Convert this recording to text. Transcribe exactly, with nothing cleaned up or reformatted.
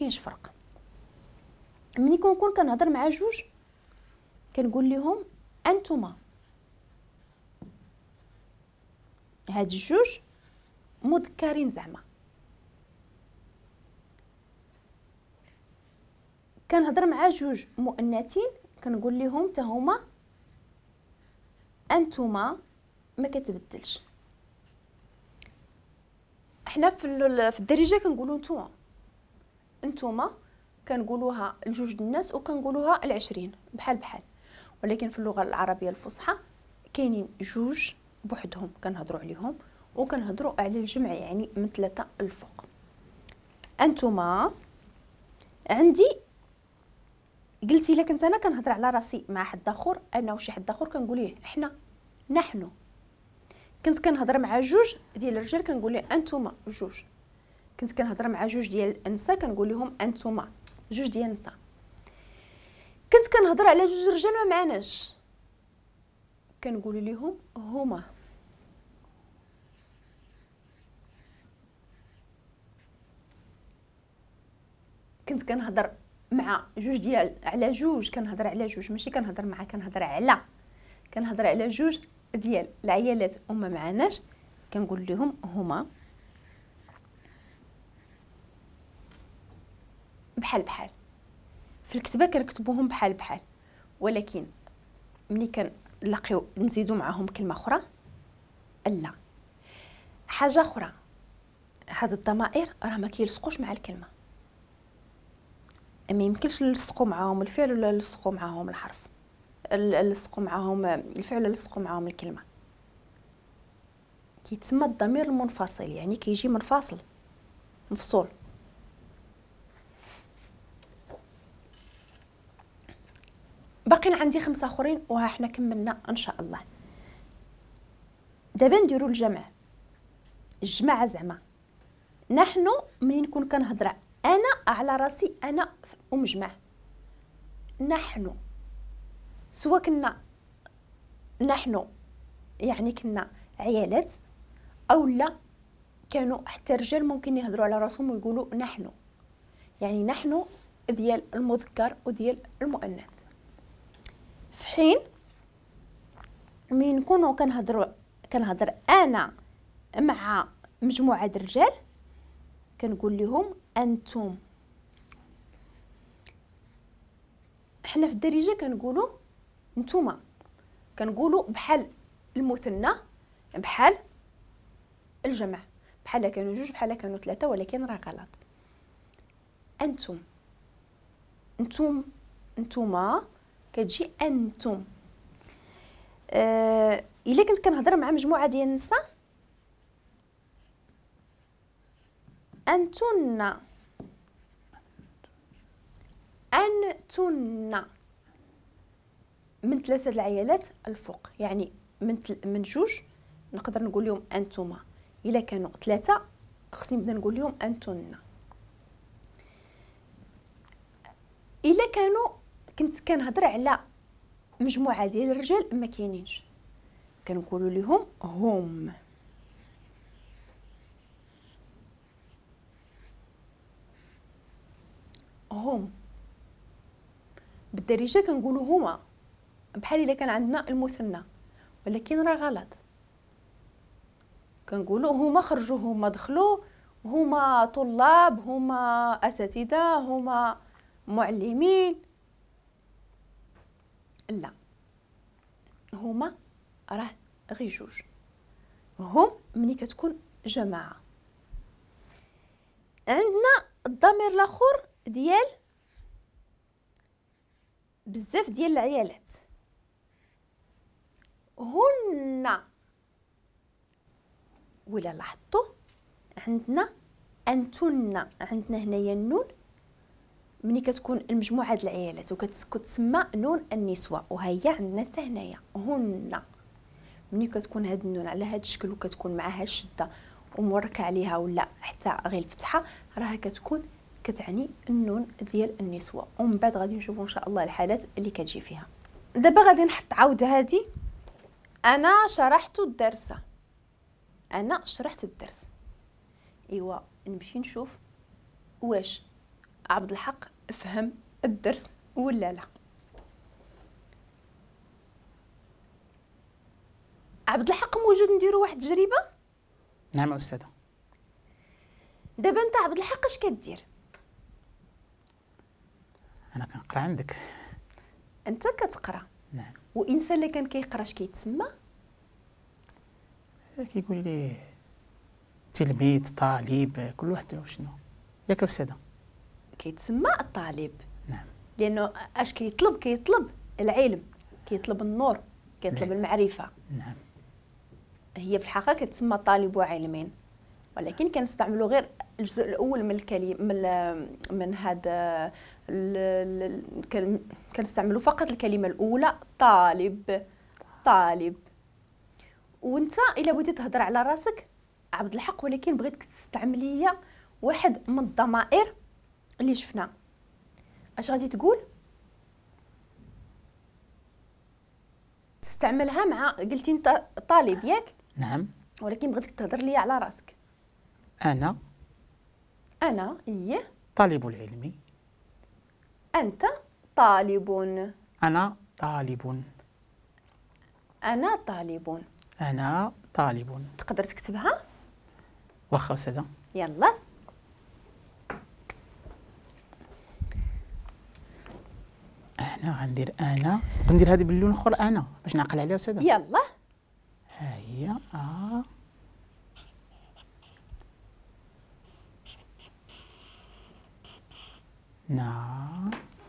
كاينش فرق. ملي كنكون كنهضر مع جوج كنقول لهم انتما، هاد الجوج مذكرين زعما. كنهضر مع جوج مؤنثين كنقول لهم حتى هما انتما، ما كتبدلش. حنا في في الدارجة كنقولوا نتوما، انتوما كنقولوها لجوج الناس وكنقولوها العشرين بحال بحال، ولكن في اللغة العربية الفصحى كاينين جوج بوحدهم كنهضروا عليهم، وكنهضروا على الجمع يعني من ثلاثة الفوق. انتوما عندي قلتي الا كنت انا كنهضر على راسي مع حد اخر، انا وشي حد اخر كنقول ليه حنا، نحن. كنت كنهضر مع جوج ديال الرجال كنقول ليه انتوما جوج. كنت كنهضر مع جوج ديال النساء كنقول لهم انتوما جوج ديال النساء. كنت كنهضر على جوج رجال ما معناش كنقول لهم هما. كنت كنهضر مع جوج ديال على جوج، كنهضر على جوج ماشي كنهضر مع، كنهضر على، كنهضر على جوج ديال العيالات وما معناش كنقول لهم هما بحال بحال. في الكتابة كنكتبوهم بحال بحال، ولكن ملي كنلاقيو نزيدو معاهم كلمة اخرى لا. حاجة اخرى، هاد الضمائر راه ما كيلصقوش مع الكلمة، ما يمكنش نلصقوا معاهم الفعل ولا نلصقوا معاهم الحرف، نلصقوا معاهم الفعل ولا نلصقوا معاهم الكلمة. كيتسمى الضمير المنفصل، يعني كيجي منفصل مفصول. باقين عندي خمسة اخرين وها حنا كملنا ان شاء الله. دابا نديرو الجمع، الجماعة زعما. نحن ملي نكون كنهضر انا على راسي انا ومجمع، نحن سواء كنا نحن يعني كنا عيالات او لا كانوا حتى الرجال ممكن يهضروا على راسهم ويقولوا نحن، يعني نحن ديال المذكر وديال المؤنث. في حين ملي نكونوا كنهضروا كنهضر انا مع مجموعة الرجال كنقول لهم انتم. حنا في الدارجة كنقولوا نتوما، كنقولوا بحال المثنى بحال الجمع، بحال كانوا جوج بحال كانوا ثلاثة، ولكن راه غلط. انتم، انتم، انتوما كتجي انتم. آه الا كنت كنهضر مع مجموعة ديال النساء انتن، انتن من ثلاثة العيالات الفوق، يعني من تل... من جوج نقدر نقول لهم انتما، الا كانوا ثلاثة خصني نبدا نقول لهم انتن. الا كانوا كنت كنهضر على مجموعة ديال الرجال ما كاينينش كنقولوا لهم هم. هم بالدارجة كنقولوا هما بحال الا كان عندنا المثنى، ولكن راه غلط. كنقولوا هما خرجوا، هما دخلوا، هما طلاب، هما اساتذة، هما معلمين. لا، هما راه غير جوج، هم ملي كتكون جماعة. عندنا الضمير الاخر ديال بزاف ديال العيالات، هن. ولا لاحظتوا عندنا انتن، عندنا هنايا النون ملي كتكون المجموعة ديال العيالات وكتسمى نون النسوة، وهي عندنا حتى هنايا هن. ملي كتكون هاد النون على هاد الشكل وكتكون معها الشدة وموركه عليها ولا حتى غير الفتحة، راها كتكون كتعني النون ديال النسوة. ومن بعد غادي نشوفوا ان شاء الله الحالات اللي كتجي فيها. دابا غادي نحط عاود هادي. انا شرحت الدرس، انا شرحت الدرس. ايوا نمشي نشوف واش عبد الحق فهم الدرس ولا لا. عبد الحق موجود نديرو واحد التجربة؟ نعم أستاذة. دابا انت عبد الحق اش كدير؟ انا كنقرا عندك. انت كتقرا؟ نعم. وانسان اللي كان كيقرا اش كيتسمى؟ كيقول لي تلميذ، طالب، كل واحد شنو. ياك أستاذة؟ كيتسمى الطالب. نعم. لانه اش كيطلب؟ كيطلب العلم، كيطلب النور، كيطلب نعم. المعرفة. نعم. هي في الحقيقة كتسمى طالب علمين، ولكن كنستعملوا غير الجزء الاول من الكلمة من من هذا، كنستعملوا فقط الكلمة الاولى طالب. طالب. وانت الا بغيتي تهضر على راسك عبد الحق، ولكن بغيتك تستعملي واحد من الضمائر اللي شفنا، اش غادي تقول؟ تستعملها مع قلتي انت طالب ياك؟ نعم. ولكن بغيتك تهضر لي على راسك. انا انا ايه طالب العلم. انت طالب. انا طالب. انا طالب. انا طالب. تقدر تكتبها؟ واخا أستاذة. يلا. انا غندير انا غندير هذه باللون الاخر انا باش نعقل عليها أستاذة. يلا. ها هي ا نا